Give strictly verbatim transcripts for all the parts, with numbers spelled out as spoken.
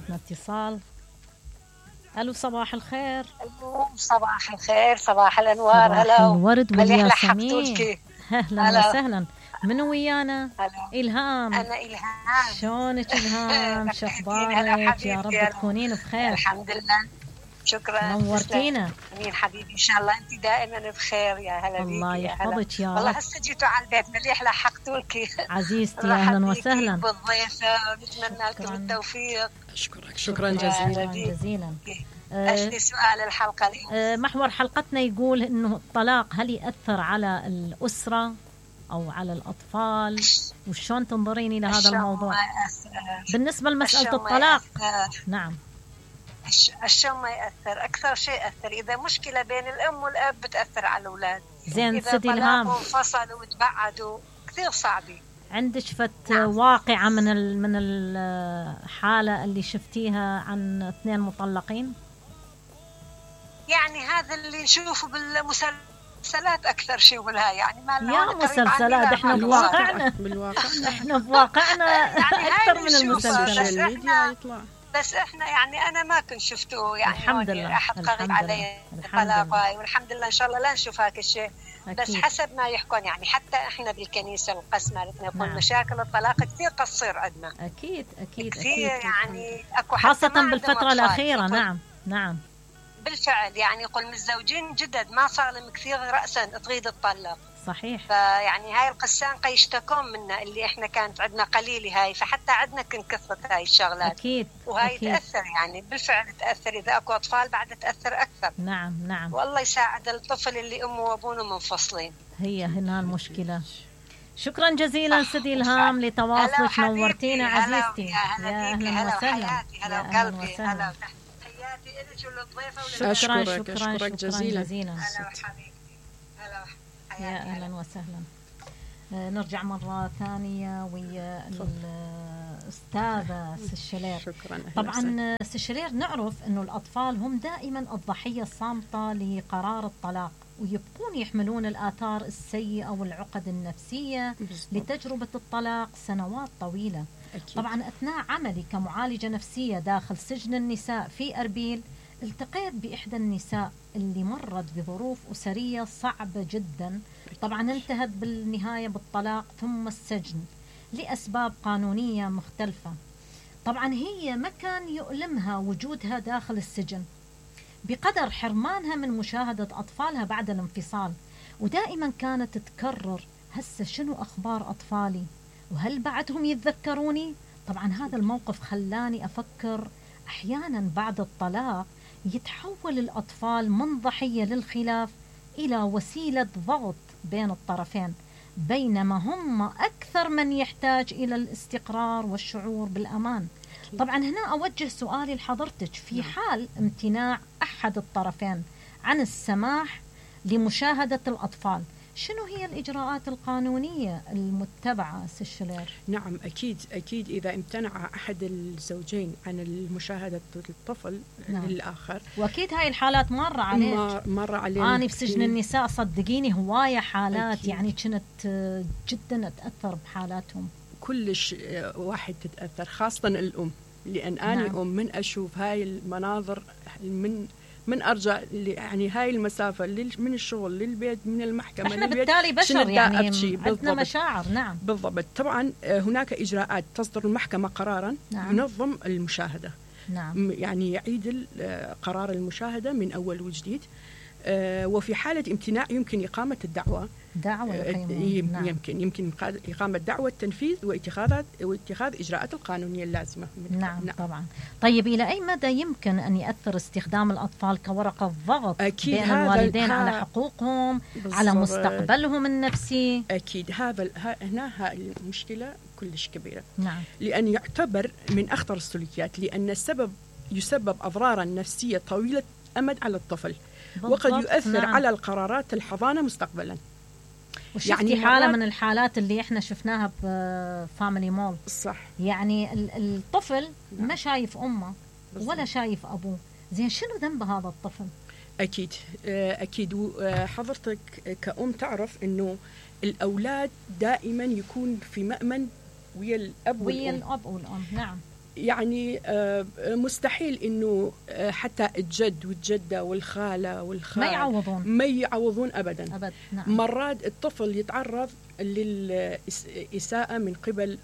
عندنا اتصال. الو صباح الخير. الو صباح الخير، صباح الانوار. صباح هلا الورد والياسمين. اهلا هلا. وسهلا. منو ويانا؟ هلا. الهام. انا الهام. شلونك الهام؟ شخبارك؟ يا رب تكونين بخير. الحمد لله. شكرا. نورتينا. امين حبيبي، ان شاء الله انت دائما بخير. يا هلا بيك. الله يحفظك يا رب. والله هسه جيتوا على البيت مليح، لحقتوا لك عزيزتي. اهلا وسهلا بالضيفه، ونتمنى لكم التوفيق. اشكرك شكرا جزيلا. شكرا جزيلا. أجل سؤال الحلقه اليوم. محور حلقتنا يقول انه الطلاق هل يأثر على الأسرة او على الاطفال، وشون تنظرين الى هذا الموضوع بالنسبه لمساله الطلاق؟ نعم. الشو ما يأثر، أكثر شيء يأثر إذا مشكلة بين الأم والأب بتأثر على الأولاد. زين إذا سيدي الهام، إذا انفصلوا وتبعدوا كثير صعبة. عندك فت نعم. واقعة من من الحالة اللي شفتيها عن اثنين مطلقين؟ يعني هذا اللي نشوفه بالمسلسلات أكثر شيء ولا يعني ما يا مسلسلات، احنا بواقعنا بالواقع احنا بواقعنا يعني أكثر من المسلسلات. بس, بس احنا يعني انا ما كنت شفته يعني الحمد لله احد قريب علي طلاق، والحمد لله ان شاء الله لا نشوف هاك الشيء. بس حسب ما يحكون يعني حتى احنا بالكنيسه القسمه نقول نعم. مشاكل الطلاق كثير تصير عندنا. اكيد اكيد كثير أكيد. يعني اكو خاصه بالفتره الاخيره. نعم نعم بالفعل. يعني يقول متزوجين جدد ما صار لهم كثير راسا تريد تطلق. صحيح. فيعني هاي القسان يشتكون منا اللي احنا كانت عندنا قليله هاي، فحتى عندنا كن كثرت هاي الشغلات. اكيد. وهاي أكيد. تاثر يعني بالفعل تاثر، اذا اكو اطفال بعد تاثر اكثر. نعم نعم. والله يساعد الطفل اللي امه وابوه منفصلين. هي هنا المشكله. شكرا جزيلا سيدي الهام لتواصلك، نورتينا عزيزتي. يا اهلا وسهلا. هلا وقلبي. هلا تحياتي لك وللضيفه. شكرا شكرا أشكرك, شكرا, أشكرك جزيلا. جزيلا. هلا وحبيبي. هلا يا اهلا وسهلا. آه نرجع مرة ثانية ويا الأستاذة سشلير. شكرا. طبعا سشلير نعرف أنه الأطفال هم دائما الضحية الصامتة لقرار الطلاق، ويبقون يحملون الآثار السيئة والعقد النفسية بالضبط. لتجربة الطلاق سنوات طويلة. أكيد. طبعا أثناء عملي كمعالجة نفسية داخل سجن النساء في أربيل، التقيت بإحدى النساء اللي مرت بظروف أسرية صعبة جدا. طبعا انتهت بالنهاية بالطلاق ثم السجن لأسباب قانونية مختلفة. طبعا هي ما كان يؤلمها وجودها داخل السجن بقدر حرمانها من مشاهدة أطفالها بعد الانفصال، ودائما كانت تكرر هسه شنو أخبار أطفالي، وهل بعدهم يتذكروني؟ طبعا هذا الموقف خلاني أفكر أحيانا بعد الطلاق يتحول الأطفال من ضحية للخلاف إلى وسيلة ضغط بين الطرفين، بينما هم أكثر من يحتاج إلى الاستقرار والشعور بالأمان. طبعا هنا أوجه سؤالي لحضرتك، في حال امتناع أحد الطرفين عن السماح لمشاهدة الأطفال، شنو هي الإجراءات القانونية المتبعة سشلير؟ نعم أكيد أكيد إذا امتنع أحد الزوجين عن المشاهدة الطفل نعم. للآخر، وأكيد هاي الحالات مرة عليك. مرة علينا. أنا بسجن النساء صدقيني هواية حالات أكيد. يعني كنت جدا أتأثر بحالاتهم. كلش واحد تتأثر، خاصة الأم، لأن أنا نعم. أم من أشوف هاي المناظر من من ارجع يعني هاي المسافه من الشغل للبيت من المحكمه احنا للبيت بالتالي بشر يعني عندنا بالضبط. مشاعر. نعم بالضبط. طبعا هناك اجراءات تصدر المحكمه قرارا نعم. ينظم المشاهده. نعم. يعني يعيد قرار المشاهده من اول وجديد. وفي حاله امتناع يمكن اقامه الدعوه. دعوه يمكن نعم. يمكن يمكن اقامه دعوه تنفيذ واتخاذ واتخاذ اجراءات القانونيه اللازمه. نعم, نعم طبعا. طيب الى اي مدى يمكن ان ياثر استخدام الاطفال كورقه ضغط أكيد بين الوالدين على حقوقهم بالزبط. على مستقبلهم النفسي؟ اكيد هذا هنا هاي المشكله كلش كبيره. نعم. لان يعتبر من اخطر السلوكيات، لان السبب يسبب اضرارا نفسية طويلة امد على الطفل، وقد يؤثر نعم. على القرارات الحضانة مستقبلا. وشفتي يعني حالة من الحالات اللي احنا شفناها بفاميلي مول. صح. يعني الطفل نعم. ما شايف امه بالضبط. ولا شايف ابوه. زين شنو ذنب هذا الطفل؟ اكيد اكيد. حضرتك كأم تعرف انه الاولاد دائما يكون في مأمن ويا الاب ويا الاب والام. نعم. يعني مستحيل انه حتى الجد والجده والخاله والخال ما يعوضون ما يعوضون ابدا, أبد. نعم. مرات الطفل يتعرض للإساءة من قبل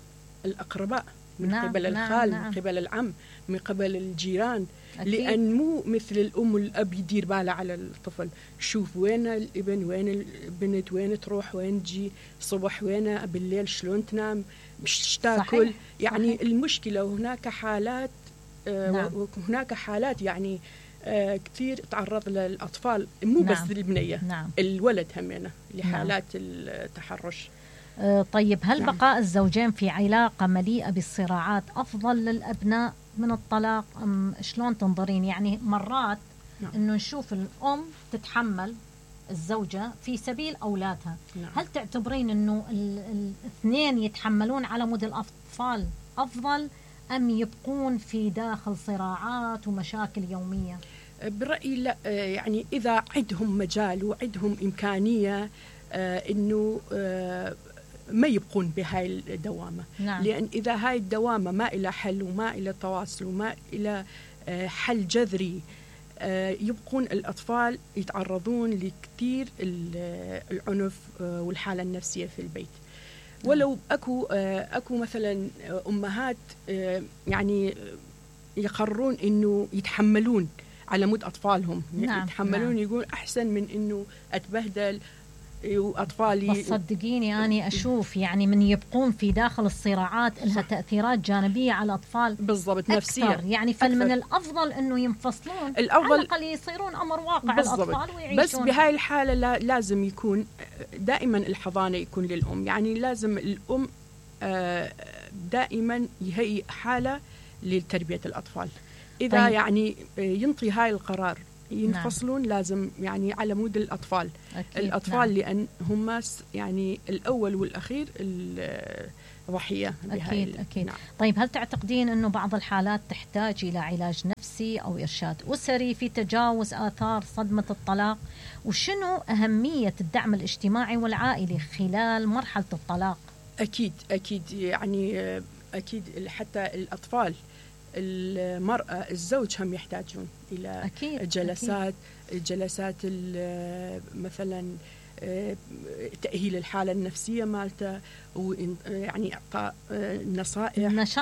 الأقرباء، من نعم. قبل الخال، نعم. من قبل العم، من قبل الجيران. أكيد. لأن مو مثل الأم والأب يدير باله على الطفل، شوف وين الابن، وين البنت، وين تروح، وين تجي، صبح وين، بالليل شلون تنام، مش تاكل. يعني صحيح. المشكلة هناك حالات آه نعم. وهناك حالات يعني آه كثير تعرض للأطفال، مو نعم. بس البنية، نعم. الولد همينة لحالات نعم. التحرش. آه طيب، هل نعم. بقاء الزوجين في علاقة مليئة بالصراعات أفضل للأبناء من الطلاق أم شلون تنظرين؟ يعني مرات نعم. إنه نشوف الأم تتحمل الزوجة في سبيل أولادها. نعم. هل تعتبرين إنه الاثنين يتحملون على مود الأطفال أفضل أم يبقون في داخل صراعات ومشاكل يومية؟ برأيي لا، يعني إذا عندهم مجال وعندهم إمكانية إنه ما يبقون بهاي الدوامة. نعم. لأن إذا هاي الدوامة ما إلى حل وما إلى تواصل وما إلى حل جذري، يبقون الأطفال يتعرضون لكثير العنف والحالة النفسية في البيت. ولو أكو أكو مثلا أمهات يعني يقررون إنه يتحملون على مود أطفالهم. نعم. يتحملون. نعم. يقول أحسن من إنه أتبهدل وأطفالي. بس صدقيني أنا أشوف يعني من يبقون في داخل الصراعات لها تأثيرات جانبية على الأطفال بالضبط نفسية. يعني فمن الأفضل إنه ينفصلون، الأفضل على الأقل يصيرون أمر واقع الأطفال ويعيشون. بس بهاي الحالة لا لازم يكون دائما الحضانة يكون للأم. يعني لازم الأم دائما يهيئ حالة لتربية الأطفال. إذا طيب. يعني ينطي هاي القرار ينفصلون. نعم. لازم يعني على مود الأطفال. أكيد. الأطفال نعم. لأن هم يعني الأول والأخير الضحية. أكيد أكيد. نعم. طيب، هل تعتقدين أنه بعض الحالات تحتاج إلى علاج نفسي أو إرشاد أسري في تجاوز آثار صدمة الطلاق؟ وشنو أهمية الدعم الاجتماعي والعائلي خلال مرحلة الطلاق؟ أكيد أكيد يعني أكيد حتى الأطفال، المرأة، الزوج هم يحتاجون إلى أكيد. جلسات أكيد. جلسات مثلا تأهيل الحالة النفسية مالته، ويعني إعطاء نصائح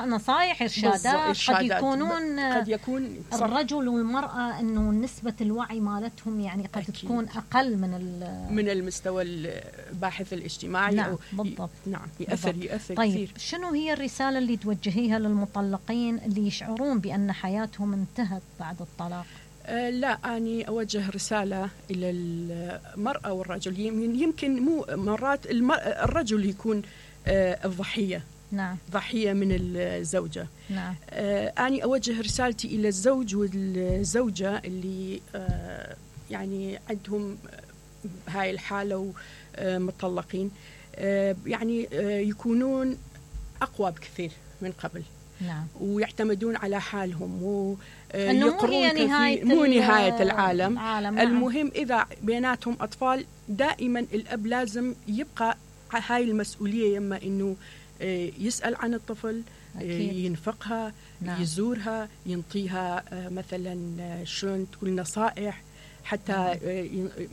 نصائح إرشادات. قد يكونون قد يكون الرجل والمرأة إنه نسبة الوعي مالتهم يعني قد أكيد. تكون أقل من من المستوى الباحث الاجتماعي. نعم. بالضبط. نعم يأثر بالضبط. يأثر طيب كثير. شنو هي الرسالة اللي توجهيها للمطلقين اللي يشعرون بأن حياتهم انتهت بعد الطلاق؟ أه لا، أني أوجه رسالة إلى المرأة والرجل. يمكن مو مرات الرجل يكون أه الضحية. نعم. ضحية من الزوجة. نعم. أه أني أوجه رسالتي إلى الزوج والزوجة اللي أه يعني عندهم هاي الحالة ومطلقين، أه يعني أه يكونون أقوى بكثير من قبل. نعم. ويعتمدون على حالهم و مو هي نهاية مو نهاية العالم. العالم. المهم إذا بيناتهم أطفال دائما الأب لازم يبقى هاي المسؤولية، يما إنه يسأل عن الطفل. أكيد. ينفقها. نعم. يزورها، ينطيها مثلا شلون تقول نصائح، حتى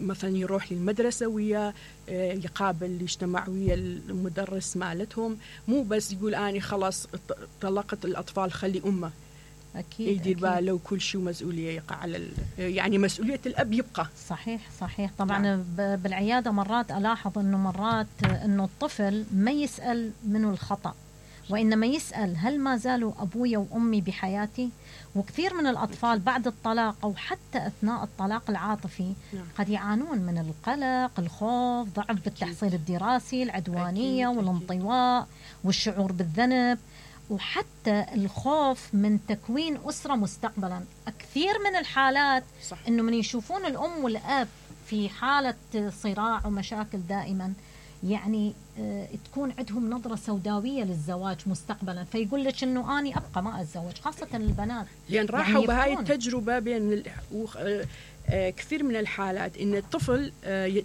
مثلا يروح للمدرسة ويا يقابل يجتمع ويا المدرس مالتهم. مو بس يقول أنا خلاص طلقت الأطفال خلي أمه. أكيد. يدير باله وكل شيء مسؤولية يقع على يعني مسؤولية الأب يبقى. صحيح صحيح. طبعا نعم. بالعيادة مرات ألاحظ أنه مرات أنه الطفل ما يسأل منه الخطأ، وإنما يسأل هل ما زالوا أبويا وأمي بحياتي؟ وكثير من الأطفال بعد الطلاق أو حتى أثناء الطلاق العاطفي نعم. قد يعانون من القلق، الخوف، ضعف بالتحصيل الدراسي، العدوانية أكيد. والانطواء والشعور بالذنب، وحتى الخوف من تكوين أسرة مستقبلا. كثير من الحالات صح. إنه من يشوفون الأم والأب في حالة صراع ومشاكل دائما، يعني تكون عندهم نظرة سوداوية للزواج مستقبلا، فيقول لك إنه أنا أبقى ما أتزوج، خاصة البنات لأن راحوا يعني بهاي التجربة بين ال... وخ... كثير من الحالات إن الطفل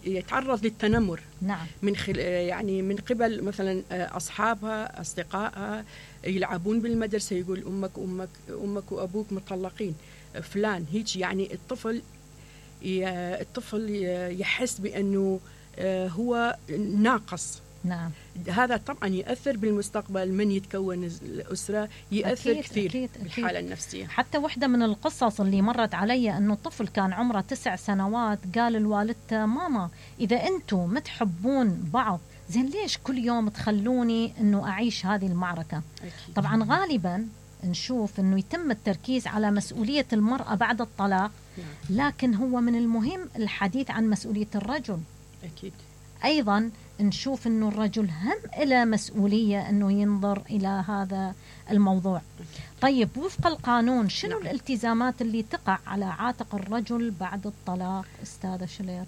يتعرض للتنمر. نعم. من خل... يعني من قبل مثلا أصحابها أصدقائها يلعبون بالمدرسة، يقول أمك أمك أمك وأبوك مطلقين فلان هيك. يعني الطفل ي... الطفل يحس بأنه هو ناقص. نعم. هذا طبعا يأثر بالمستقبل من يتكون الأسرة، يأثر أكيد كثير أكيد بالحالة أكيد. النفسية. حتى واحدة من القصص اللي مرت علي أنه الطفل كان عمره تسع سنوات، قال لوالدته ماما إذا أنتم متحبون بعض زين ليش كل يوم تخلوني أنه أعيش هذه المعركة؟ أكيد. طبعا غالبا نشوف أنه يتم التركيز على مسؤولية المرأة بعد الطلاق، لكن هو من المهم الحديث عن مسؤولية الرجل. أكيد. أيضا نشوف أنه الرجل هم إلى مسؤولية أنه ينظر إلى هذا الموضوع. طيب وفق القانون شنو نعم. الالتزامات اللي تقع على عاتق الرجل بعد الطلاق أستاذة شلير؟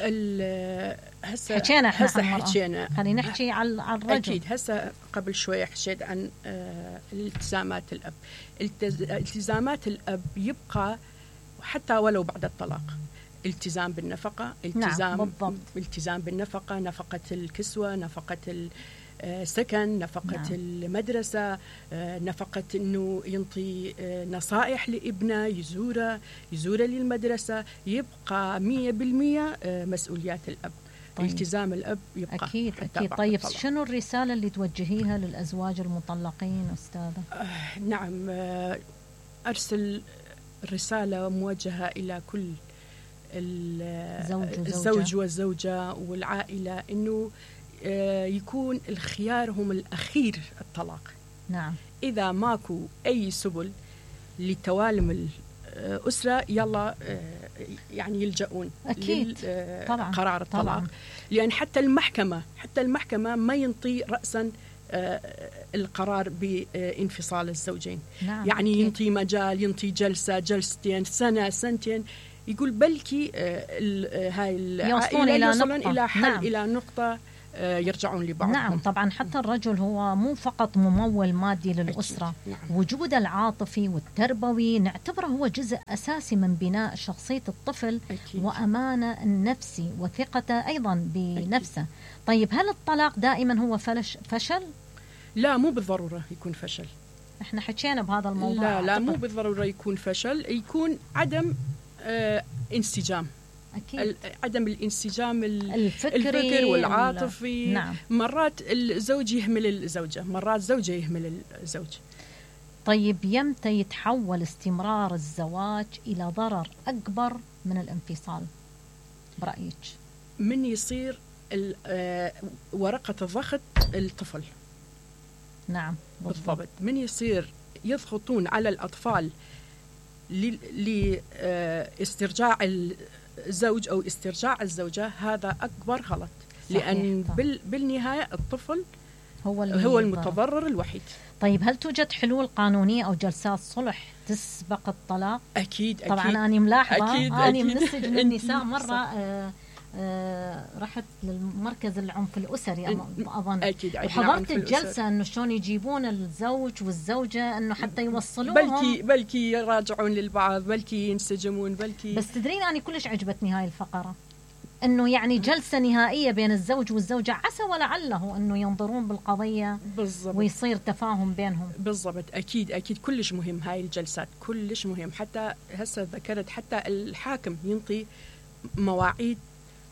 هسه حكينا احنا هسه حكينا، خلينا نحكي على الرجل. أكيد. هسه قبل شوية حكيت عن التزامات الأب. التزامات الأب يبقى حتى ولو بعد الطلاق، التزام بالنفقة، التزام نعم بالضبط. التزام بالنفقة، نفقة الكسوة، نفقة السكن، نفقة نعم. المدرسة، نفقة إنه ينطي نصائح لابنه، يزوره يزوره للمدرسة، يبقى مية بالمية مسؤوليات الأب. طيب. التزام الأب يبقى أكيد أكيد. طيب الطلاق. شنو الرسالة اللي توجهيها للأزواج المطلقين أستاذة؟ آه نعم، آه أرسل رسالة موجهة إلى كل الزوج والزوجة والعائلة إنه يكون الخيار هم الأخير الطلاق. نعم. إذا ماكو أي سبل لتوالم الأسرة يلا يعني يلجؤون أكيد طبعا. قرار الطلاق طبعا. لأن حتى المحكمة حتى المحكمة ما ينطي رأسا القرار بانفصال الزوجين. نعم. يعني أكيد. ينطي مجال، ينطي جلسة جلستين سنة سنتين، يقول بلكي هاي العائلة يوصلون إلى حل. نعم. إلى نقطة يرجعون لبعضهم. نعم طبعا. حتى الرجل هو مو فقط ممول مادي للأسرة. نعم. وجود العاطفي والتربوي نعتبره هو جزء أساسي من بناء شخصية الطفل. أكيد. وأمانة النفسي وثقته أيضا بنفسه. أكيد. طيب هل الطلاق دائما هو فلش فشل؟ لا مو بالضرورة يكون فشل. احنا حكينا بهذا الموضوع. لا لا مو بالضرورة يكون فشل، يكون عدم آه انسجام. أكيد. عدم الانسجام الفكري الفكر والعاطفي. نعم. مرات الزوج يهمل الزوجة، مرات الزوجة يهمل الزوج. طيب يمتى يتحول استمرار الزواج إلى ضرر أكبر من الانفصال برأيك؟ من يصير ورقة الضغط الطفل. نعم بالضبط. من يصير يضغطون على الأطفال لاسترجاع الزوج أو استرجاع الزوجة، هذا أكبر غلط. لأن بال بالنهاية الطفل هو, هو المتضرر الوحيد. طيب هل توجد حلول قانونية أو جلسات صلح تسبق الطلاق؟ أكيد أكيد. طبعا أنا ملاحظة أكيد أنا أكيد. من السجن النساء مرة آه آه رحت للمركز العنف الأسري أظن. أكيد. وحضرت الجلسة إنه شلون يجيبون الزوج والزوجة إنه حتى يوصلوهم، بلكي بلكي يراجعون للبعض، بلكي ينسجمون، بلكي. بس تدرين أنا كلش عجبتني هاي الفقرة، إنه يعني جلسة نهائية بين الزوج والزوجة، عسى ولعله إنه ينظرون بالقضية بالضبط ويصير تفاهم بينهم. بالضبط. أكيد أكيد كلش مهم هاي الجلسات، كلش مهم. حتى هسه ذكرت حتى الحاكم ينطي مواعيد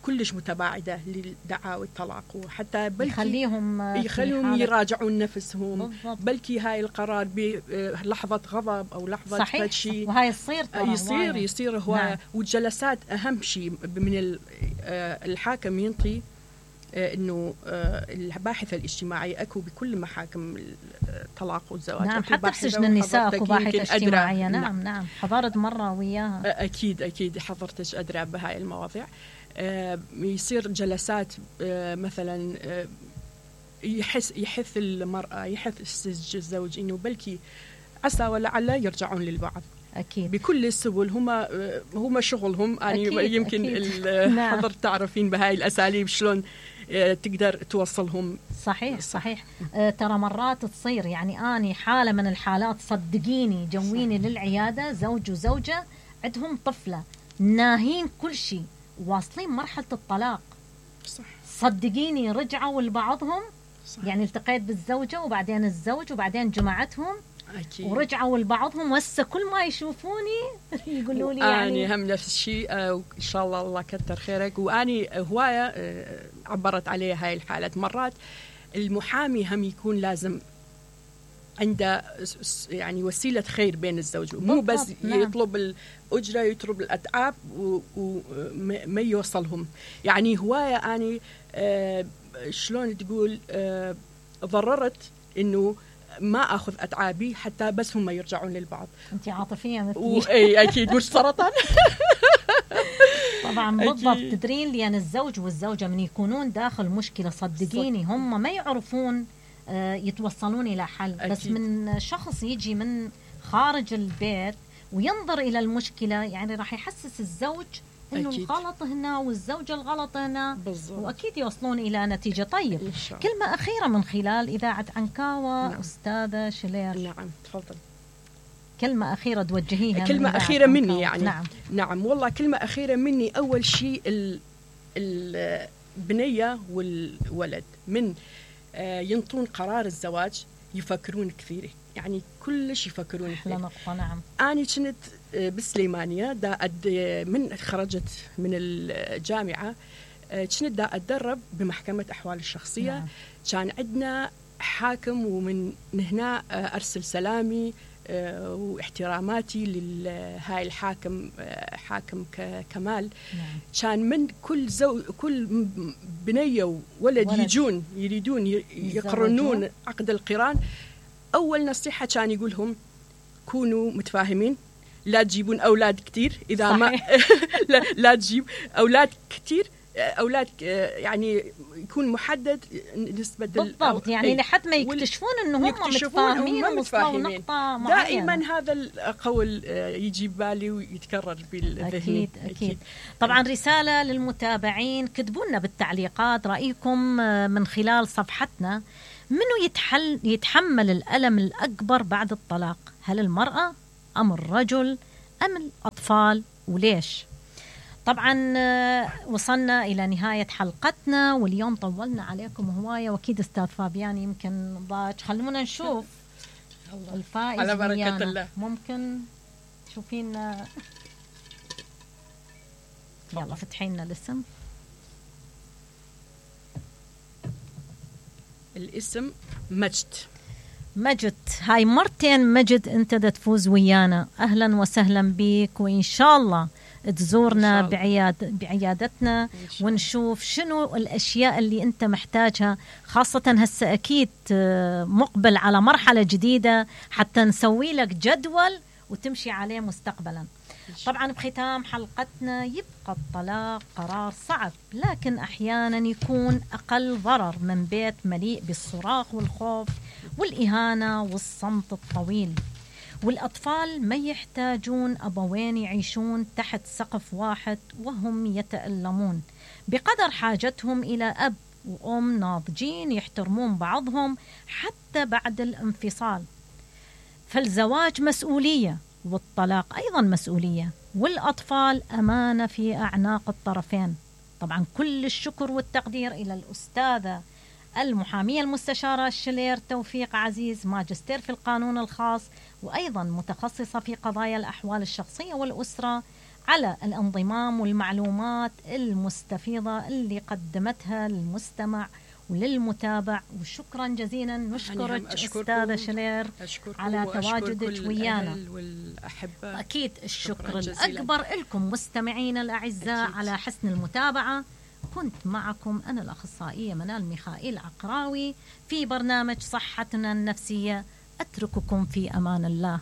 كلش متباعدة للدعاوى الطلاق، وحتى بلكي يخليهم يخليهم يراجعون نفسهم. بالضبط. بلكي هاي القرار بلحظة غضب أو لحظة صحيح. شيء وهاي يصير يصير يصير هو. نعم. والجلسات أهم شيء من الحاكم ينطي إنه الباحثة الاجتماعية أكو بكل محاكم الطلاق والزواج. نعم حتى بسجن النساء أكو باحثة اجتماعية. نعم. نعم نعم حضرت مرة وياها. أكيد أكيد حضرتش أدرى بهاي المواضيع. يصير جلسات مثلا يحس يحث المرأة يحث الزوج إنه بلكي عسى ولعل يرجعون للبعض. أكيد. بكل السبل. هما هما شغلهم. يعني أكيد. يمكن أكيد. حضرت تعرفين بهاي الأساليب شلون تقدر توصلهم. صحيح صحيح. آه ترى مرات تصير، يعني أني حالة من الحالات صدقيني جويني للعيادة زوج وزوجة عندهم طفلة ناهين كل شيء واصلين مرحلة الطلاق. صح. صدقيني رجعوا لبعضهم. صح. يعني التقيت بالزوجة وبعدين الزوج وبعدين جمعتهم أكيد. ورجعوا لبعضهم وهسه كل ما يشوفوني يقولوا لي يعني أنا هم نفس الشيء. آه وإن شاء الله الله كتر خيرك. وأني هواية آه عبرت عليها هاي الحالات. مرات المحامي هم يكون لازم عنده يعني وسيلة خير بين الزوج، مو بس نعم. يطلب الأجرة يطلب الأتعاب وما يوصلهم. يعني هواية أني آه شلون تقول آه ضررت إنه ما أخذ أتعابي حتى بس هم يرجعون للبعض. أنت عاطفية مثلي. و... أي أكيد مش سرطان. طبعا بالضبط. تدرين لأن الزوج والزوجة من يكونون داخل مشكلة صدقيني هم ما يعرفون يتوصلون إلى حل. أكيد. بس من شخص يجي من خارج البيت وينظر إلى المشكلة يعني راح يحسس الزوج إنه الغلط هنا والزوجة الغلط هنا. بالزبط. وأكيد يوصلون إلى نتيجة. طيب كلمة أخيرة من خلال إذاعة عنكاوة. نعم. أستاذة شلير. نعم تفضل. كلمة أخيرة توجهيها. كلمة أخيرة مني يعني. نعم. نعم والله كلمة أخيرة مني. أول شيء البنية والولد من ينطون قرار الزواج يفكرون كثير، يعني كلش يفكرون كثير. نقطة. نعم. أنا كنت بالسليمانية دا أد من خرجت من الجامعة كنت دا أتدرب بمحكمة أحوال الشخصية. نعم. كان عندنا حاكم ومن هنا أرسل سلامي واحتراماتي لهاي الحاكم حاكم كمال. نعم. كان من كل زو كل بنية وولد ولد. يجون يريدون يقرنون عقد القران، أول نصيحة كان يقولهم كونوا متفاهمين، لا تجيبون أولاد كتير إذا صحيح. ما لا, لا تجيب أولاد كتير، أولاد يعني يكون محدد نسبة بالضبط. يعني لحد ما يكتشفون أنه هم متفاهمين ووصلوا نقطة معينة. دائما هذا القول يجي بالي ويتكرر بالذهن. أكيد, أكيد أكيد. طبعا رسالة للمتابعين، كتبوا لنا بالتعليقات رأيكم من خلال صفحتنا. منو يتحل يتحمل الألم الأكبر بعد الطلاق؟ هل المرأة أم الرجل أم الأطفال؟ وليش؟ طبعا وصلنا إلى نهاية حلقتنا واليوم طولنا عليكم هواية، وأكيد أستاذ فابيان يمكن ضاج. خلونا نشوف الفائز على بركة الله. ممكن تشوفين؟ يلا فتحي لنا الاسم. الاسم مجد. مجد، هاي مرتين مجد انت دا تفوز ويانا. اهلا وسهلا بيك، وان شاء الله تزورنا بعياد بعيادتنا ونشوف شنو الاشياء اللي انت محتاجها، خاصة هسه اكيد مقبل على مرحلة جديدة حتى نسوي لك جدول وتمشي عليه مستقبلا. طبعا بختام حلقتنا، يبقى الطلاق قرار صعب لكن أحيانا يكون أقل ضرر من بيت مليء بالصراخ والخوف والإهانة والصمت الطويل. والأطفال ما يحتاجون أبوين يعيشون تحت سقف واحد وهم يتألمون، بقدر حاجتهم إلى أب وأم ناضجين يحترمون بعضهم حتى بعد الانفصال. فالزواج مسؤولية والطلاق أيضا مسؤولية، والأطفال أمانة في أعناق الطرفين. طبعا كل الشكر والتقدير إلى الأستاذة المحامية المستشارة شلير توفيق عزيز، ماجستير في القانون الخاص وأيضا متخصصة في قضايا الأحوال الشخصية والأسرة، على الانضمام والمعلومات المستفيضة اللي قدمتها للمستمع وللمتابع. وشكرا جزيلا نشكرك أستاذة شلير على تواجدك ويانا، أكيد الشكر الأكبر لكم مستمعين الأعزاء أكيد على حسن المتابعة. كنت معكم أنا الأخصائية منال ميخائيل عقراوي في برنامج صحتنا النفسية. أترككم في أمان الله.